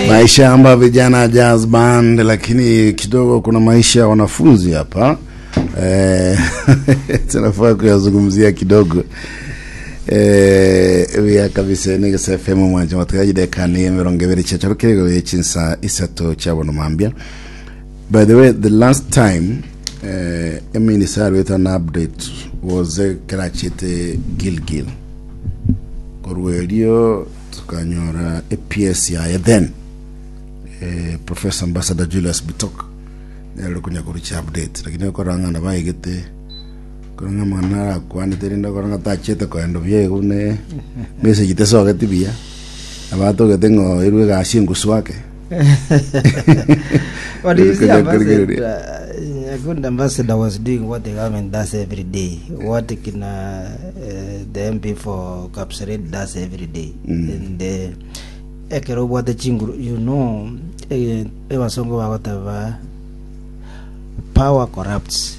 Maisha amba vijana jazz band, lakini kidogo kuna maisha ya wanafunzi hapa eh, tunafaa kuyazungumzia kidogo eh, buya kabisa nigese FM mwanje matugajidekani 20 chacharo kirego chinsa isato chabono mambia. By the way, the last time eh, eminister arwete an update was eh, kerachete Gilgil korwa erio tukanyora eps yaye then eh, Professor Ambassador Julius Bitok nere ore konya korucha update lakini okora ng'a nabaegete kora ng'a amang'ana arakwanete rende okora ng'a tachete koenda buya igo buna message tesogeti buya abatogete ng'a oirwe egasi engusu ake. But you see, ambassador, Nyakundi ambassador was doing what the government does every day, what kina the MP for Kapseret does every day. And ekero obwate chinguru, you know, ebasongo bagoteba power corrupts,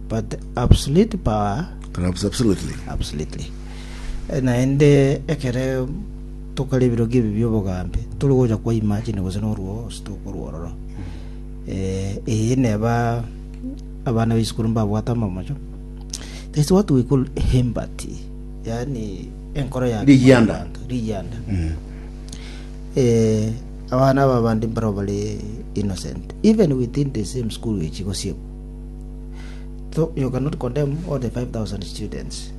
but absolute power Corrupts absolutely. absolutely. Naende ekere Tokare ebirogo ebi bi'obogambi, tori gocha kwa imagine gose norwo gose tokorwa ororo. Eh, eye neba abana b'esukuru mbabwate amamocho. There is what we call empathy, yaani enkoro ya Rigianda. abanto, rigianda. Eh, abana aba bande mbaro bare innocent even within the same school echi gosiekwa so you cannot condemn all the 5000 students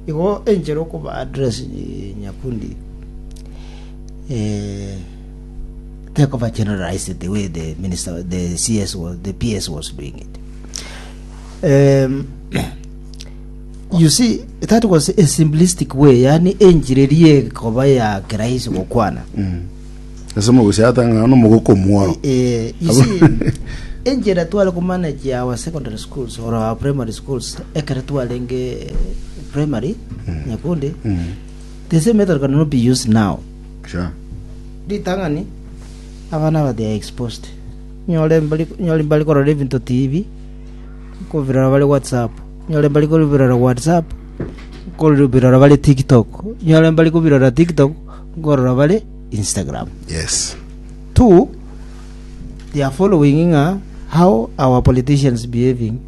Igo enchera okoba address Nyakundi eh, tekoba generalized the way the minister the CS was the PS was doing it. You see that was a simplistic way yani enchera eria ekoba ya kirahisi gokwana. Ase omogusi atang'ana nomogoko omworo. You see, enchera tware komanage our secondary schools or our primary schools ekero twarenge primary nyakundi the same method cannot be used now. Sure. Ritang'ani abana aba they are exposed nyore mbari nyore mbari korora ebinto TV kobirora bare WhatsApp nyore mbari kobirora WhatsApp kobirora bare TikTok nyore mbari kobirora TikTok nkorora bare Instagram. Yes. Two, they are following ng'a how our politicians behaving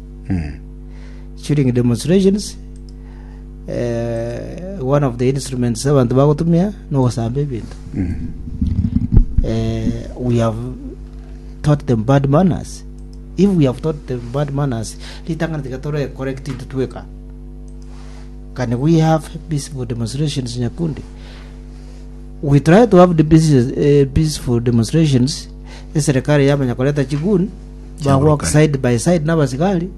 during demonstrations. Eh, one of the instruments abantu bagotumia nogosamba ebinto. Eh, we have taught them bad manners. If we have taught them bad manners, ritang'ani tiga tore correct intwe tweka. Can we have peaceful demonstrations Nyakundi? We try to have the peace, peaceful demonstrations eserekari yamanya koreta chigun bagwaka Chiaburukani. side by side n'abasigari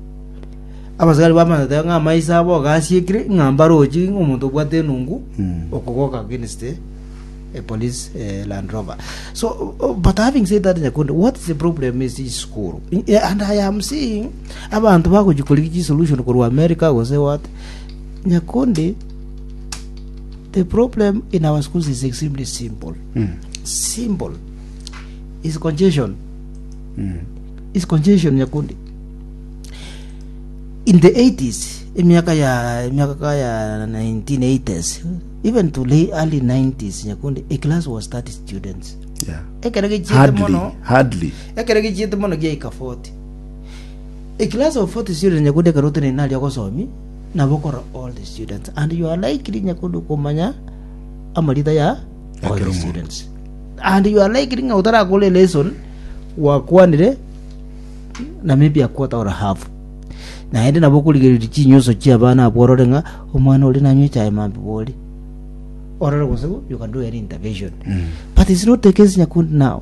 abasigari bamanya goteba ng'a amaiso abo gasiekire ng'a mbarochi ng'a omonto obwate enungu okogoka against a police Land Rover. So, but having said that, Nyakundi, what is the problem is this school. And I am seeing abantu bagochi korigia chisolution korwa America gose what. Nyakundi, The problem in our schools is extremely simple. Simple. Is congestion. Is congestion Nyakundi. In the 80s, emiaka ya emiaka ya 1980s, even to late early 90s Nyakundi, a class was 30 students. Yeah. Ekero gichiete Hardly, mono, hardly. ekero gichiete mono giaika 40. A class of 40 students Nyakundi ekero otenene aria ogosomi Nabo okora all the students and you are likely nyakundi komanya amarita ya all Ekero the omonto. students and you are likely ng'a otarakora lesson gwakwanire na maybe a quarter or a half naende nabo okorigereria chinyuso chia abana abwo orore ng'a omwana oria nanywe echae mambia bori orore gose you can do any intervention but it's not the case nyakundi now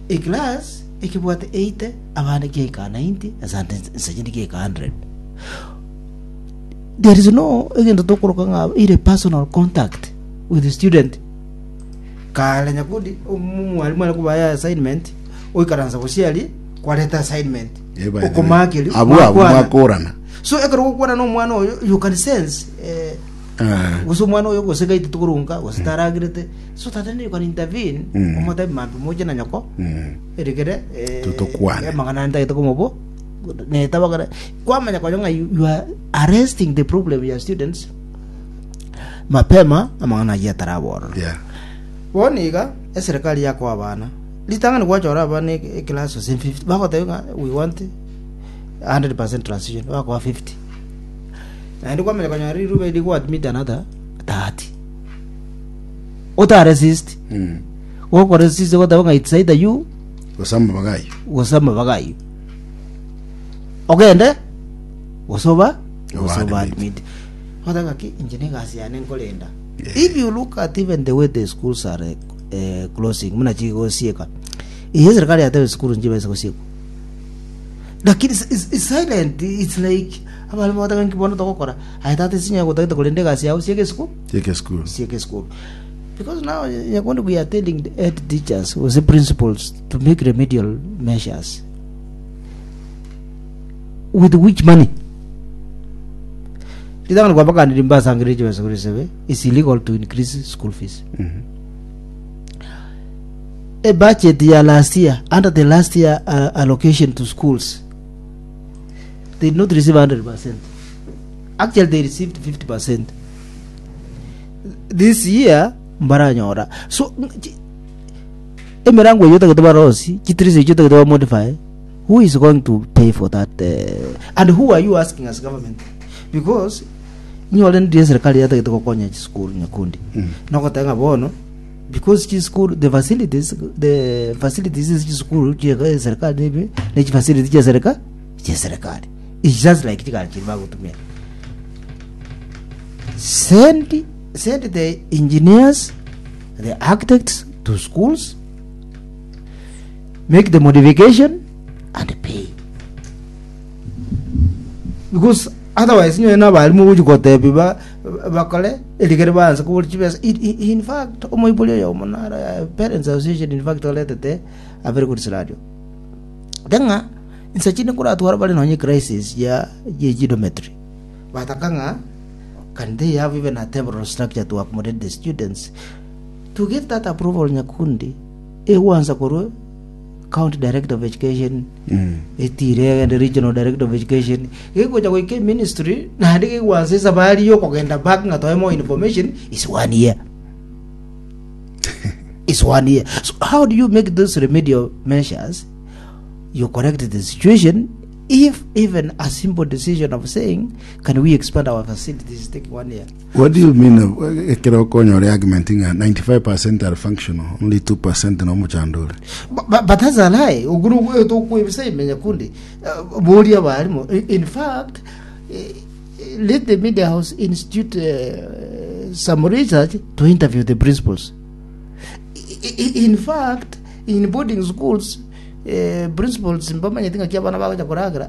a class ekebwate 80 abande kiaika 90 asante nsachende kiaika 100 there is no egento tokoroka ng'a ire personal contact with the student kare nyakundi omwalimu are kobaya assignment oikaransa gosiaria kwareta assignment Eh, by the way. okomakeria Abwo abwo mwakwana. mwakorana. so ekero gokwana na omwana oyo you can sense eh, Ah. gose omwana oyo gose gaite tokorunga gose taragirete so that then you can intervene omotebi mambi moche na nyoko erigere eh, Totokwane. amang'ana ntagete komobo netabagara kwamanya konya ng'a you, you are arresting the problem ya students mapema amang'ana ayio ataraborora Yeah. Bono iga, eserekari yakoa abana, ritang'ani gwachora abana eclass gose 50, bagotebia ng'a we want 100% transition, bakoa 50. Naende kwamanya konyora rirube rigo admit another 30. Otaresist, gokoresist goteba ng'a it's either you Gose amabaga ayio. gose amabaga ayio. Ogende gose oba gose oba Oba admit. admit. Goteba ng'aki inche na egasi yane nkorenda. Yeah. If you look at even the way the schools are closing buna chigosieka eye serikali yateba esukuru nchibase gosiekwa lakini it's silent it's like abalimu bagoteba nki bono togokora aye tata ase gotagete korenda egasi yao sieka esukuru Sieka esukuru. sieka esukuru because now nyakondi we are telling the head teachers gose principals to make remedial measures with which money Ritang'ani kwabakanire mbasangererie chibesa korwa isebe, it's illegal to increase school fees. A budget ya last year, under the last year allocation to schools, they did not receive 100%. Actually, they received 50%. This year, mbaranyora. So, emirango eyo otagete barosi, chitirisi echio otagete bamodify, Who is going to pay for that and who are you asking as government because inyore ndiye serikali yatagete gokonya chisukuru nyakundi nogoteba ng'a bono because chisukuru the facilities the facilities ase chisukuru chia serikali nibi ne chifacility chia serika chia serikali it's just like chigari chiria bagotumia send send the engineers the architects to schools Make the modification and pay. Because otherwise nyowe na abarimu gochi gotebi ba bakore erigere baanse kobori chibesa. In fact omoibori oyomo naro parents association in fact oretete a very good scenario. Ng'a inse chinde nkoratwara bare nonye crisis ya ye chidometry. Bataka ng'a can they have even a temporal structure to accommodate the students to give that approval nyakundi Egwansa korwa county director of education etire egende regional director of education gegocha goika eministry naende gegwansa esabari yokogenda back ng'a toe more information is one year is one year so how do you make those remedial measures you correct the situation if even a simple decision of saying can we expand our facilities take one year What do you mean ekero okonyora argument ng'a 95% are functional only 2% no omochando ore? But that's a lie. Oguru tokwebisa ime nyakundi. Boria abarimo. In fact, let the media house institute some research to interview the principals. In fact, in boarding schools, principals mbamanyeti ng'aki abana bagocha koragera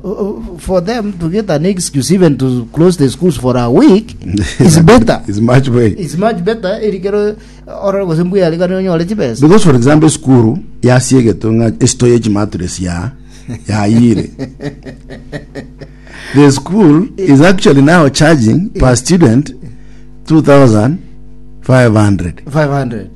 for them to get an excuse even to close the schools for a week is better It's much way. it's much better erikero orore gose mbuya arigane onyore chibesa Because for example esukuru yasiegetwe ng'a esito ye chimatress ya yayire. The school is actually now charging per student 2500. 500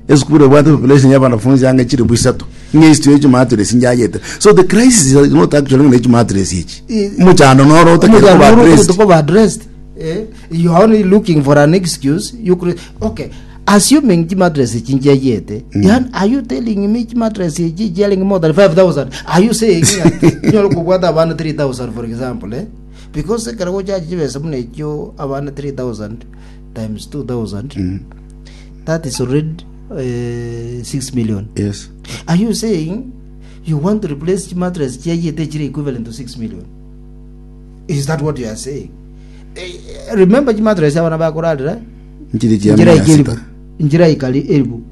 Esukuru ebwate population ya abanafunzi ange chilifu isato ng'a esito ye chimatress njayete. So the crisis is not actually ng'a chimatress echi. Omochando noro otakere koba addressed. Koba addressed. Eh, you are only looking for an excuse. You could, okay. Assuming chimatress echi nchiayete, yani are you telling me chimatress echi chiaring more than 5000? Are you saying nyoro kobwata abana 3000 for example, eh? Because ekero gochachi chibesa buna echio abana 3000 times 2000 That is already 6 million. Yes. Are you saying you want to replace chimatress chiayete chire equivalent to 6 million? Is that what you are saying? Remember chimatress abana bakorarera Nchiri chia njira mia ikeribu sita. njira ikali eribu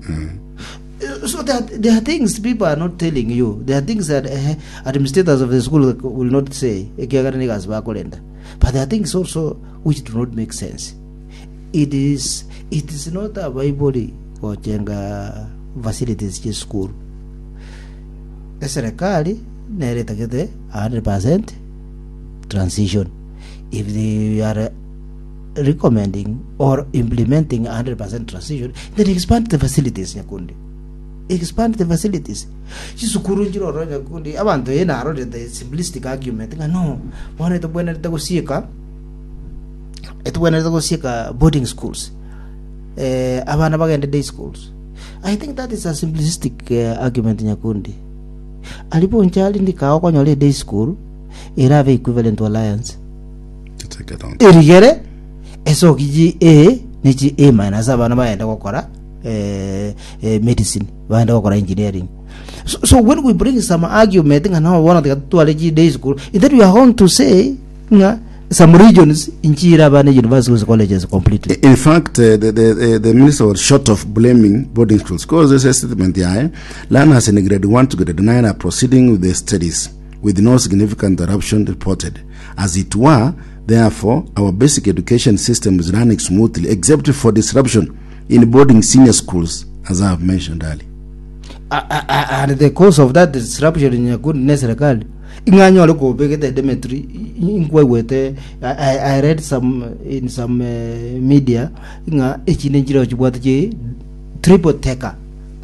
So there are things people are not telling you. There are things that administrators of the school will not say. Ekiagera nigo ase bakorenda. But there are things also which do not make sense. It is it is not abaibori gochenga facilities chie school. Eserekari nere etagete 100% transition. If they are recommending or implementing 100% transition, then expand the facilities nyakundi. Expand the facilities. Chisukuru nchire ororo nyakundi abanto eye narorete the simplistic argument ng'a no bono etobwenerete gosieka Etobwenerete gosieka boarding schools, abana bagende day schools. I think that is a simplistic argument Nyakundi. Aria Bonchari ndikao okonyora e day school erabe equivalent to Alliance. To take it on. Erigere esoki chi A ne chi A minus abana bagende gokora eh, eh, medicine bagende gokora engineering. So, so when we bring some argument ng'a no bono tiga totware chi day school, then we are going to say ng'a some regions inchire abana universities colleges completely. In fact, the minister was short of blaming boarding schools because there's a statement here. Learners in grade 1 to grade 9 are proceeding with their studies with no significant interruption reported. As it were, therefore, our basic education system is running smoothly except for disruption in boarding senior schools, as I have mentioned earlier. And the cause of that disruption Nyakundi ne serikali ing'anyore kobegete dormitory inkwegwete. I read some in some media ng'a echinde nchireo chibwate chi triple decker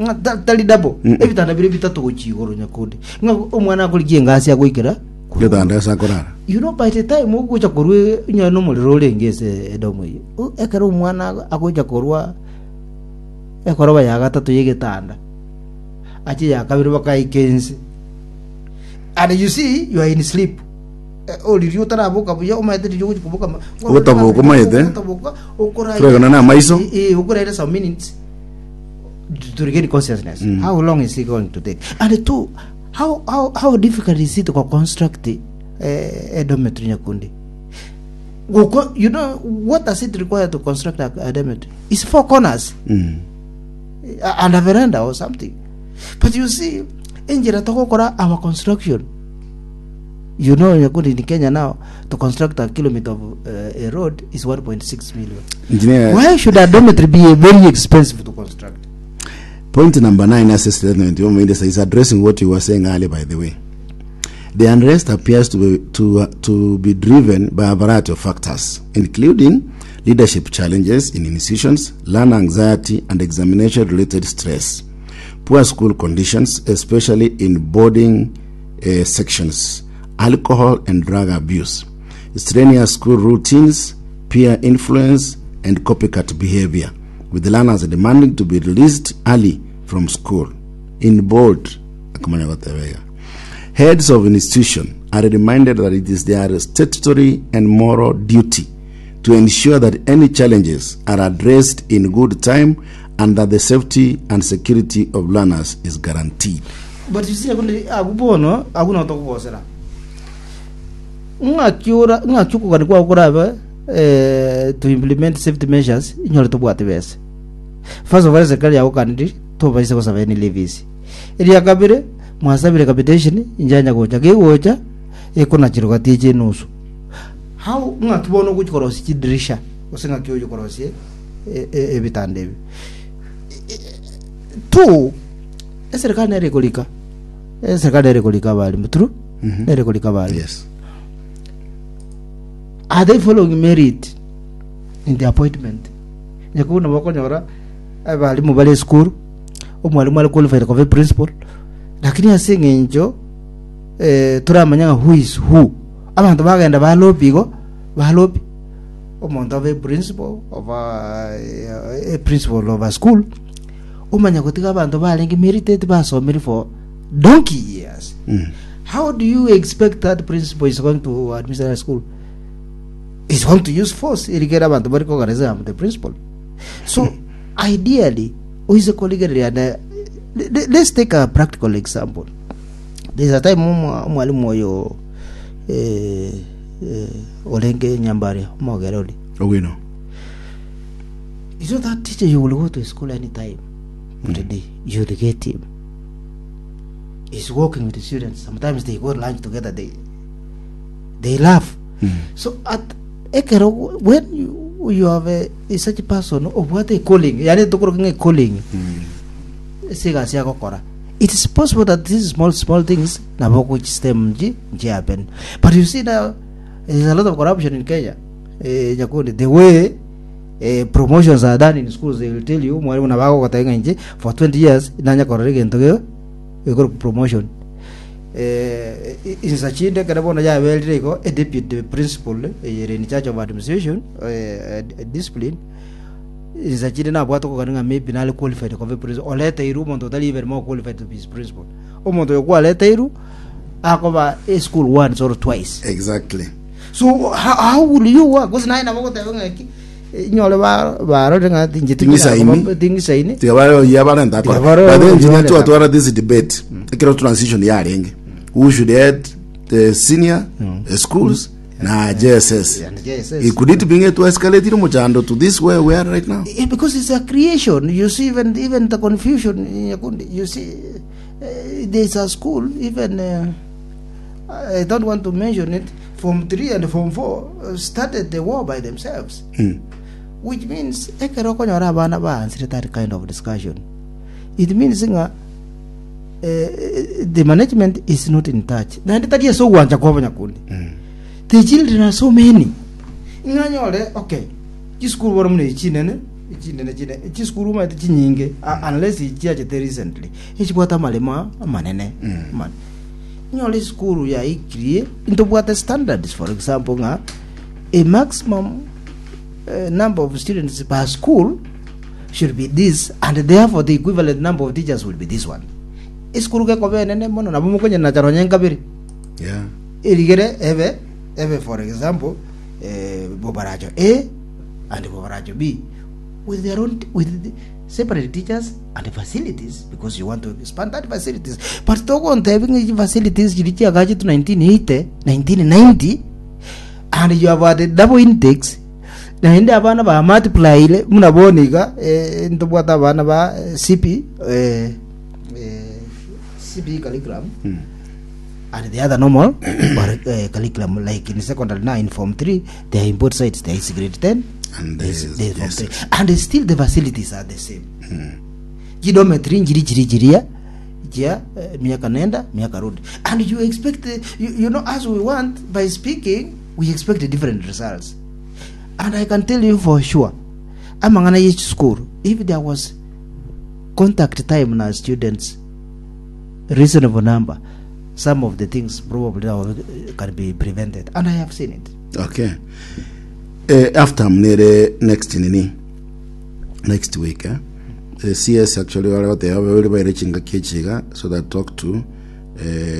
ng'a tari double ebitanda bire bitato gochia igoro Nyakundi ng'a omwana akorigia engasi agoikera Getanda ase akorara. You know, by the time ogocha korwa onye nomorero orenge ase edomo eye, ekero omwana agocha korwa ekoroba ya gatato y'egetanda ache ya kabere bakaika ense, and you see you are in sleep. Oriria otaraboka buya omanyete riria ogochi koboka Ogotaboka omanyete. ogotaboka okoraira Toregana na amaiso. Okoraira some minutes to regain consciousness. How long is it going to take? And two, how difficult is it to construct a dormitory, Nyakundi? You know what does it require to construct a dormitory? It's four corners and a veranda or something. But you see, enjera togokora our construction, you know, Nyakundi, in Kenya now, to construct a kilometer of a road is 1.6 million. Engineer, Why should a dormitory be very expensive to construct? Point number 9 as a statement Minister is addressing what you were saying earlier, by the way. The unrest appears to be driven by a variety of factors, including leadership challenges in institutions, learner anxiety, and examination related stress, poor school conditions, especially in boarding sections, alcohol and drug abuse, strenuous school routines, peer influence, and copycat behavior, with the learners demanding to be released early from school. In bold, akamanya gotebega. Heads of institution are reminded that it is their statutory and moral duty to ensure that any challenges are addressed in good time and that the safety and security of learners is guaranteed. But you see, akundi aku bono aku notokogosera ng'aki ora ng'aki okogani kwao korabe to implement safety measures inyore tobwate besa. First of all, serikali yagokaniri tobaise gosaba any levies. Eria kabere mwasabire capitation injanya gocha gegocha ekonachirwa gati eche enusu. How ng'aki bono ogochi korosia chidirisha gose ng'aki ogochi korosia ebitanda ebi? Two, eserikali nere ekorika, eserikali nere ekorika abalimu. True. Nere ekorika abalimu. Are they following merit in the appointment? Nyakubu nabo okonyora abalimu bare esukuru, omwalimu are qualified koba principal, lakini ase eng'encho toramanya ng'a who is who, abanto bagenda balobi igo balobi omonto abe principal of a principal of a school, omanya gotiga abanto barenge merited basomire for donkey years. How do you expect that principal is going to administer a school? Is going to use force erigere abanto bari kogareza am the principal. So ideally oise korigereria na let's take a practical example. There's a time omwalimu oyo orenge Nyambaria omogere ori. Owino. You know that teacher, you will go to school anytime of the day, you will get him. He's working with the students. Sometimes they go lunch together. They laugh. So at ekero when you have a such person of what a calling, yani tukuru a calling, sigasi agokora. It is possible that these small small things nabo system ji ji happen. But you see now there's a lot of corruption in Kenya. Nyakundi, the way promotions are done in schools, they will tell you mwalimu nabako gotenga inche for 20 years nanya korora egento geo ekoro promotion insachinde kere bono yaberire igo a deputy principal, in charge of administration, discipline. Insa chinde nabwate okogania ng'a maybe nare qualified koba eprincipal, oreteirwe omonto otari even more qualified to be his principal. Omonto oyo kwareteirwe akoba eschool once or twice. Exactly. So how, how will you work? Gose naye nabo ogoteba ng'a ki inyore ba barore ng'a tinche Ting'isaini. ting'isaini. Tiga bare ya barenta akora. Tiga bare But then engineer barenta. twatwara this debate. Ekero transition yarenge. Who should head the senior schools na JSS. And JSS. It could it be to escalate omochando to this where we are right now? Yeah, because it's a creation. You see, even even the confusion. in Nyakundi, You see, there's a school. Even I don't want to mention it. Form 3 and Form 4 started the war by themselves, which means ekero okonyora abana baansire that kind of discussion. It means ng'a the management is not in touch. Naende tari ase ogwancha kwa abanyakundi. The children are so many. Ng'a nyore okay, chisukuru bono buna echi chinene, chinene chine, chisukuru omanyete chinyinge uh, unless chiachete recently, echibwate amaremo amanene. Amane. Nyore esukuru yaikirie, ntobwate standards for example ng'a a maximum number of students per school should be this and therefore the equivalent number of teachers will be this one. Esukuru gekoba enene mono nabo mokonyenacha nonye nkabere. Yeah. Erigere ebe ebe for example eh, Bobaracho A and Bobaracho B with their own with the separate teachers and facilities because you want to expand that facilities but togontebi ng'a echi facilities chiri chiagachetwe 1980 1990 and you have had double intakes naende abana ba multiplyire buna bono iga eh, ntobwate abana ba eh, CP eh, eh, CP curriculum and the other normal or, curriculum like in secondary now in form 3 they are in both sides there is grade 10 And there is, there is there is form yes. 3 and still the facilities are the same chidometry njiri chiri chiria chia eh, miaka nenda miaka rudi and you expect you, you know as we want by speaking we expect different results and i can tell you for sure amang'ana ye school if there was contact time na students reasonable number some of the things probably now can be prevented and i have seen it Okay. Eh, after mnere next nini next week eh? Eh, CS actually wale bateba babere baire chingaki echiga so that talk to eh,